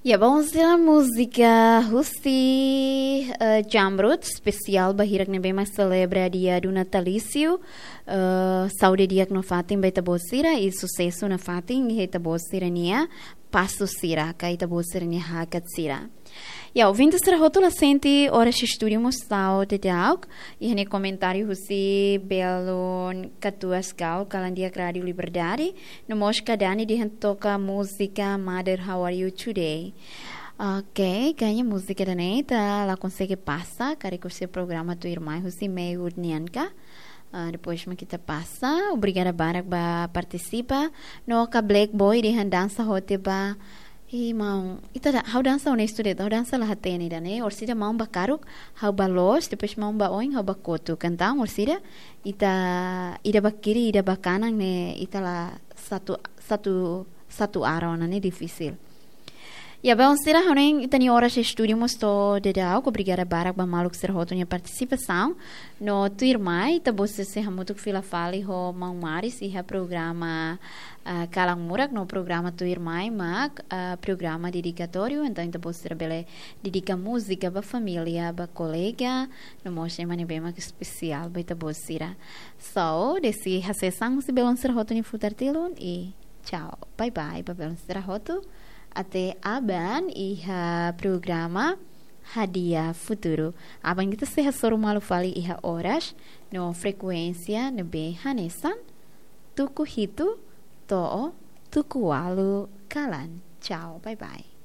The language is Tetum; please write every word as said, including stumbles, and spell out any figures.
Ya, bom, sira múzika husi, eh, Jamrut, espesiál ba hirak ne'ebé mak selebra dia do natalício. Eh, saúde di'ak nafatin ba ita-boot sira, i susesu nafatin iha ita-boot sira-nia pasu sira, ka ita-boot sira-nia hakat sira. Ya, ouvinte sira hotu, la sente oras estúdiu mós tau daudauk, iha ne'e komentáriu husi Belun Katuas Gal, kalan di'ak Rádio Liberdade, no mós Kadani dehan toka múzika Mother, How Are You Today? Ok, kayaknya múzika ida-ne'e ita la konsege pasa, karik husi programa tuirmai husi meiudia nian ka. Ah, depois mak ita pasa. Obrigada barak ba partisipa. No ka Black Boy dehan dansa hotu ba. Ih, maun, ita da, ha'u dansa honestu de'it, ha'u dansa la hatene ida-ne'e. Orsida maun ba karuk, ha'u ba loos, depois maun ba oin, ha'u ba kotuk. Entaun, orsida, ita, ida ba kiri, ida ba kanan ne'e, ita la satu, satu, satu arah ona ne'e difisil. Ya, bom, sira, ha'u hanoin ita-nia oras estúdiu mós to'o daudauk, obrigada barak ba maluk sira hotu nia partisipasaun. No tuirmai, ita-boot sira sei hamutuk fila fali ho maun Maris iha programa, ah, Kalan Murak, no programa tuirmai mak, ah, programa dedikatóriu, entaun ita-boot sira bele dedika múzika ba família, ba kolega, no mós ema ne'ebé mak espesiál ba ita-boot sira. So, desi hasees an husi belun sira hotu nia futar tilun, i tchau. Bye bye ba belun sira hotu. Até aban iha programa Hadi'a Futuru. Aban ita sei hasoru malu fali iha oras no frekuénsia ne'ebé hanesan, tuku hitu to'o tuku ualu kalan. Tchau, bye bye.